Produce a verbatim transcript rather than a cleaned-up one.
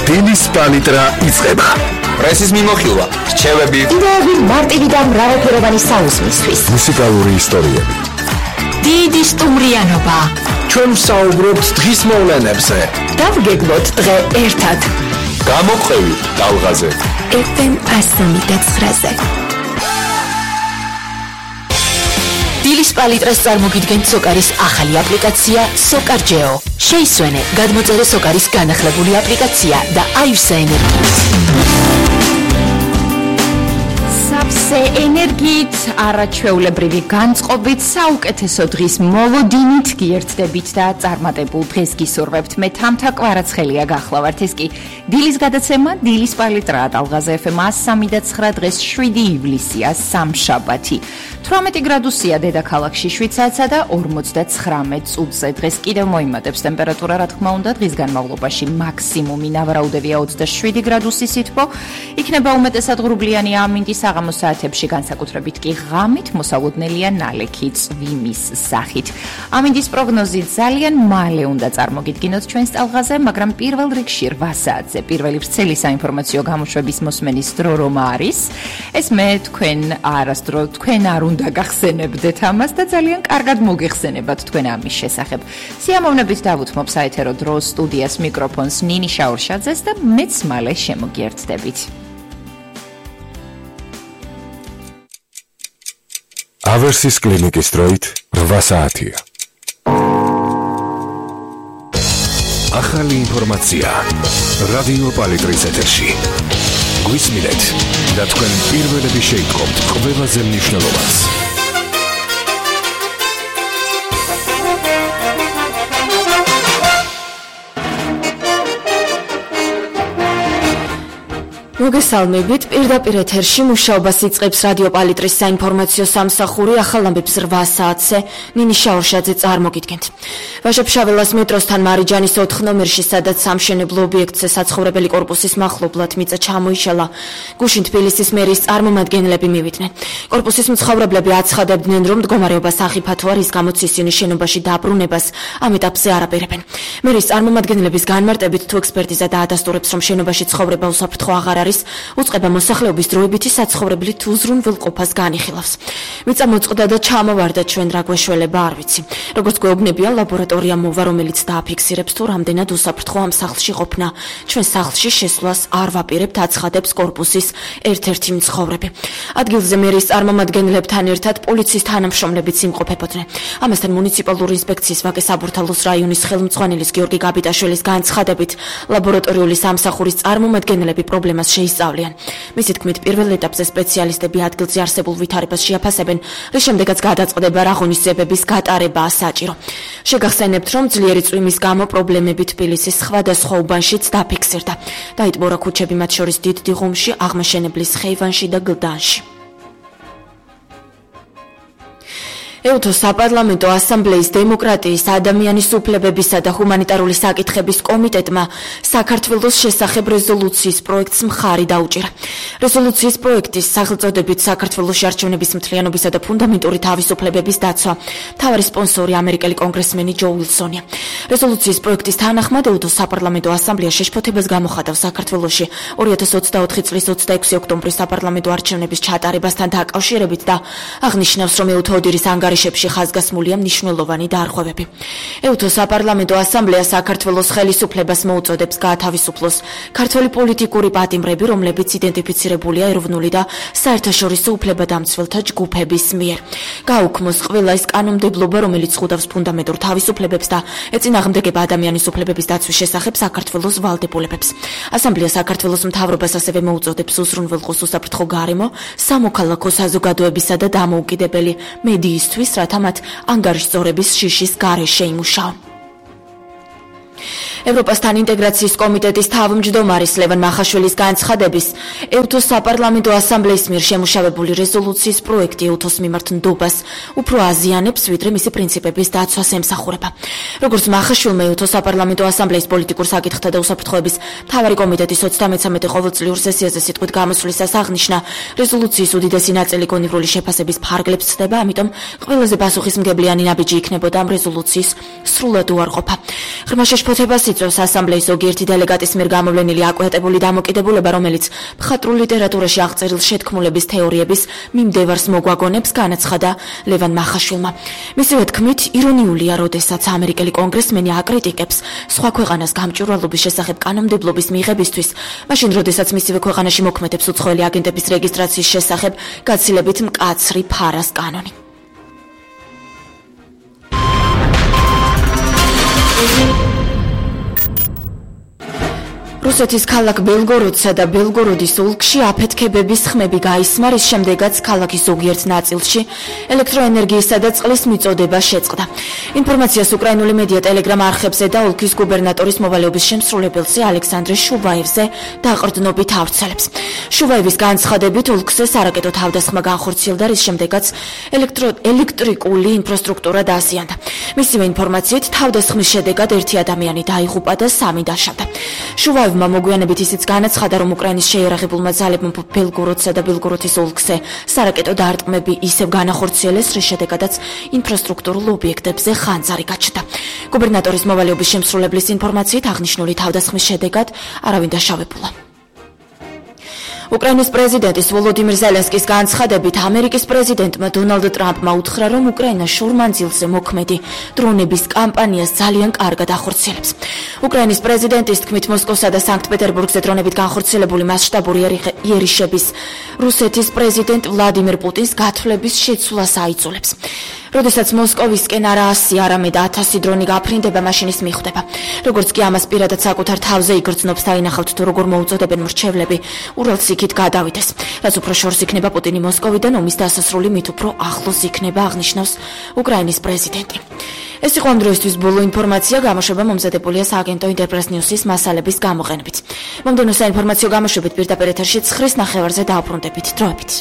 დილის პალიტრა იწყება. პრესის მიმოხილვა, რჩევები, იდეები მარტივი და მრავალფეროვანი საუზმისთვის. მუსიკალური ისტორიები. დიდი სტუმრიანობა. ჩვენ ვსაუბრობთ დღის მოვლენებზე. დავგეგმოთ დღე ერთად. გამოყვევი ტალღაზე. ეფ ემ ასამი და ცხრაზე. დილის პალიტრას წარმოგიდგენთ სოკარის ახალი აპლიკაცია სოკარჯეო. შეისვენე გადმოწერე სოკარის განახლებული აპლიკაცია და აივსე ენერგიით. სავსე ენერგიით, არაჩვეულებრივი განწყობით, საუკეთესო დღის მოლოდინით გიერთდებით და წარმატებულ დღეს გისურვებთ. მე თამთა კვარაცხელია გახლავართ. ეს კი დილის გადაცემა, დილის პალიტრა ტალღაზე ეფ ემ ასამი და ცხრა, დღეს შვიდი ივლისია, სამშაბათი. თვრამეტი გრადუსია დედაქალაქში შვიცარიასა და ორმოცდაცხრამეტ წუთზე. დღეს კიდევ მოიმატებს ტემპერატურა, რა თქმა უნდა, დღის განმავლობაში მაქსიმუმი ნავარაუდევია ოცდაშვიდი გრადუსი სითბო. იქნება უმეტესად ღრუბლიანი ამინდი, საღამო საათებში განსაკუთრებით კი ღამით მოსალოდნელია ნალექი წვიმის სახით. ამინდის პროგნოზი ძალიან მალე უნდა წარმოგიდგინოთ ჩვენს ტალღაზე, მაგრამ პირველ რიგში რვა საათზე პირველი ვრცელი საინფორმაციო გამოშვების მოსმენის დრო რომ არის, ეს მე თქვენ არასდრო თქვენ არ უნდა გახსენებდეთ ამას და ძალიან კარგად მოგეხსენებათ თქვენ ამის შესახებ. სიამოვნებით დავუთმობ საეთერო დროს სტუდიას მიკროფონს ნინი შაურშაძეს და მეც მალე შემოგიერთდებით. ავერსის კლინიკის დროით რვა საათია. ახალი ინფორმაცია რადიო პალიტრის ეთერში. გვისმინეთ და თქვენ პირველები შეიტყობთ ყველაზე მნიშვნელოვანს. მოგესალმებით, პირდაპირ ეთერში მუშაობას იწყებს რადიო პალიტრის საინფორმაციო სამსახური. ახალ ამბებს რვა საათზე ნინი შაურშაძე წარმოგიდგენთ. ვაჟა-ფშაველას მეტროსთან მარიჯანის ოთხ ნომერში, სადაც სამშენებლო ობიექტზე საცხოვრებელი კორპუსის მახლობლად მიწა ჩამოიშალა, გუშინ თბილისის მერის წარმომადგენლები მივიდნენ. კორპუსის მცხოვრებლები აცხადებდნენ, რომ მდგომარეობა სახიფათოა, რის გამოც ისინი შენობაში დაბრუნებას ამ ეტაპზე არ აპირებენ. მერის წარმომადგენლების განმარტებით, თუ ექსპერტიზა დაადასტურებს, რომ შენობაში ცხოვრება უსაფრთხო აღარ არის, უწყება მოსახლეობის დროებითი საცხოვრებლით უზრუნველყოფას განიხილავს. მიწა მოწყდა და ჩამოვარდა, ჩვენ რა გვეშველება არ ვიცი. როგორც გვეუბნებიან, ლაბორატორია მოვა, რომელიც დააფიქსირებს, თუ რამდენად უსაფრთხო ამ სახლში ყოფნა. ჩვენ სახლში შესვლას არ ვაპირებთ, აცხადებს კორპუსის ერთ-ერთი მცხოვრები. ადგილზე მერის წარმომადგენლებთან ერთად პოლიციის თანამშრომლებიც იმყოფებოდნენ. ამასთან მუნიციპალური ინსპექციის ვაკე საბურთალოს რაიონის ხელმძღვანელის გიორგი გაბიტაშვილის განცხადებით, ლაბორატორიული სამსახურის წარმომადგენლები პრობლემას შეისწავლიან. მისი თქმით, პირველ ეტაპზე სპეციალისტები ადგილზე არსებულ ვითარებას შეაფასებენ, რის შემდეგაც გადაწყდება რაღონისძიებების გატარებაა საჭირო. შეგახსენებთ, რომ ძლიერი წვიმის გამო პრობლემები თბილისის სხვადასხვა უბანშიც დაფიქსირდა. დაიტბორა ქუჩები, მათ შორის დიდ დიღუმში, აღმაშენებლის ხეივანში და გლდანში. ეუთო საპარლამენტო ასამბლეის დემოკრატიის, ადამიანის უფლებებისა და ჰუმანიტარული საკითხების კომიტეტმა საქართველოს შესახებ რეზოლუციის პროექტს მხარი დაუჭირა. რეზოლუციის პროექტის სახელწოდებით საქართველოში არჩევნების მთლიანობისა და ფუნდამენტური თავისუფლებების დაცვა. მთავარი სპონსორი ამერიკელი კონგრესმენი ჯო უილსონია. რეზოლუციის პროექტის თანახმად ეუთო საპარლამენტო ასამბლეა შეშფოთებას გამოხატავს საქართველოში ორი ათას ოცდაოთხი წლის ოცდაექვსი ოქტომბრის საპარლამენტო არჩევნების ჩატარებასთან დაკავშირებით და აღნიშნავს, რომ ეუთო ოდირის ანგარიშებში ხაზგასმულია მნიშვნელოვანი დარღვევები. ეუთო საპარლამენტო ასამბლეა საქართველოს ხელისუფლებას მოუწოდებს გაათავისუფლოს ქართველი პოლიტიკური პატიმრები, რომლებიც იდენტიფიცირებულია ეროვნული და საერთაშორისო უფლებადამცველთა ჯგუფების მიერ. გაუქმოს ყველა ის კანონმდებლობა, რომელიც ხვდავს ფუნდამენტურ თავისუფლებებს და ეწინააღმდეგება ადამიანის უფლებების დაცვის შესახებ საქართველოს ვალდებულებებს. ასამბლეა საქართველოს მთავრობას ასევე მოუწოდებს უზრუნველყოს უსაფრთხო გარემო, სამოქალაქო საზოგადოებისა და დამოუკიდებელი მედიისთვის, რათა მათ ანგარიშწორების შიშის გარეშე იმუშაონ. ევროპასთან ინტეგრაციის კომიტეტის თავმჯდომარის ლევან მახაშვილის განცხადების, ეუთოს საპარლამენტო ასამბლეის მიერ შემუშავებული რეზოლუციის პროექტი ეუთოს მიმართ ნდობას უფრო აზიანებს, ვიდრე მისი პრინციპების დაცვას ემსახურება. როგორც მახაშვილმა ეუთოს საპარლამენტო ასამბლეის პოლიტიკურ საკითხთა და უსაფრთხოების მთავარი კომიტეტის ოცდამეცამეტე ყოველწლიურ სესიაზე სიტყვით გამოსვლისას აღნიშნა, რეზოლუციის უდიდესი ნაწილი გონივრული შეფასების ფარგლებს ცდება, ამიტომ ყველაზე პასუხისმგებლიანი ნაბიჯი იქნებოდა ამ რეზოლუციის სრულად უარყოფა. ღრმა შეშფოთებას იწვევს ასამბლეის ზოგიერთი დელეგატის მიერ გამოვლენილი აკვეთებული დამოკიდებულება, რომელიც მხატვრულ ლიტერატურაში აღწერილ შეთქმულების თეორიების მიმდევარს მოგვაგონებს, განაცხადა ლევან მახაშვილმა. მისივე თქმით, ირონიულია, როდესაც ამერიკელი კონგრესმენი აკრიტიკებს სხვა ქვეყანას გამჭვირვალობის შესახებ კანონმდებლობის მიღებისთვის, მაშინ როდესაც მისივე ქვეყანაში მოქმედებს უცხოელი აგენტების რეგისტრაციის შესახებ გაცილებით მკაცრი ფარას კანონი. რუსეთის ქალაქ ბელგოროდსა და ბელგოროდის ოლქში აფეთქებების ხმები გაისმა, რის შემდეგაც ქალაქის ზოგიერთ ნაწილში ელექტროენერგიისა და წყლის მიწოდება შეწყდა. ინფორმაციას უკრაინული მედია ტელეგრამ არხებზე და ოლქის გუბერნატორის მოვალეობის შემსრულებელზე ალექსანდრე შუვაევზე დაყრდნობით ავრცელებს. შუვაევის განცხადებით ოლქზე სარაკეტო თავდასხმა განხორციელდა, რის შემდეგაც ელექტრო ელექტრიკული ინფრასტრუქტურა დააზიანდა. მისივე ინფორმაციით, თავდასხმის შედეგად ერთი ადამიანი დაიღუპა და სამი დაშავდა. შუვაევმა მოგვიანებით ისიც განაცხადა, რომ უკრაინის შეიარაღებულმა ძალებმა ბელგოროდსა და ბელგოროდის ოლქზე სარაკეტო დარტყმები ისევ განახორციელეს, რის შედეგადაც ინფრასტრუქტურულ ობიექტებზე ხანძარი გაჩნდა. გუბერნატორის მოვალეობის შემსრულებლის ინფორმაციით, აღნიშნული თავდასხმის შედეგად არავინ დაშავებულა. უკრაინის პრეზიდენტის ვოლოდიმირ ზელენსკის განცხადებით, ამერიკის პრეზიდენტმა დონალდ ტრამპმა უთხრა, რომ უკრაინა შორმანძილზე მოქმედი დრონების კამპანიას ძალიან კარგად ახორციელებს. უკრაინის პრეზიდენტის თქმით, მოსკოვსა და სანქტ-პეტერბურგზე დრონებით განხორციელებული მასშტაბური იერიშების რუსეთის პრეზიდენტ ვლადიმირ პუტინს გათვლების შეცვლას აიძულებს. როდესაც მოსკოვისკენ არა ასი, არამედ ათასი დრონი გაფრინდება, მაშინ ის მიხვდება. როგორც კი ამას პირადად საკუთარ თავზე იგრძნობს, დაინახავთ თუ როგორ მოუწოდებენ მრჩევლები ურალს იქით გადავიდეს. რაც უფრო შორს იქნება პუტინი მოსკოვიდან, ომის დასასრული მით უფრო ახლოს იქნება, აღნიშნავს უკრაინის პრეზიდენტი. ეს იყო ამ დროისთვის ბოლო ინფორმაცია, გამოშვება მომზადებულია სააგენტო ინტერპრეს ნიუსის მასალების გამოყენებით. მომდევნო საინფორმაციო გამოშვებით პირდაპირ ეთერში ცხრის ნახევარზე დაუბრუნდებით. დროებით.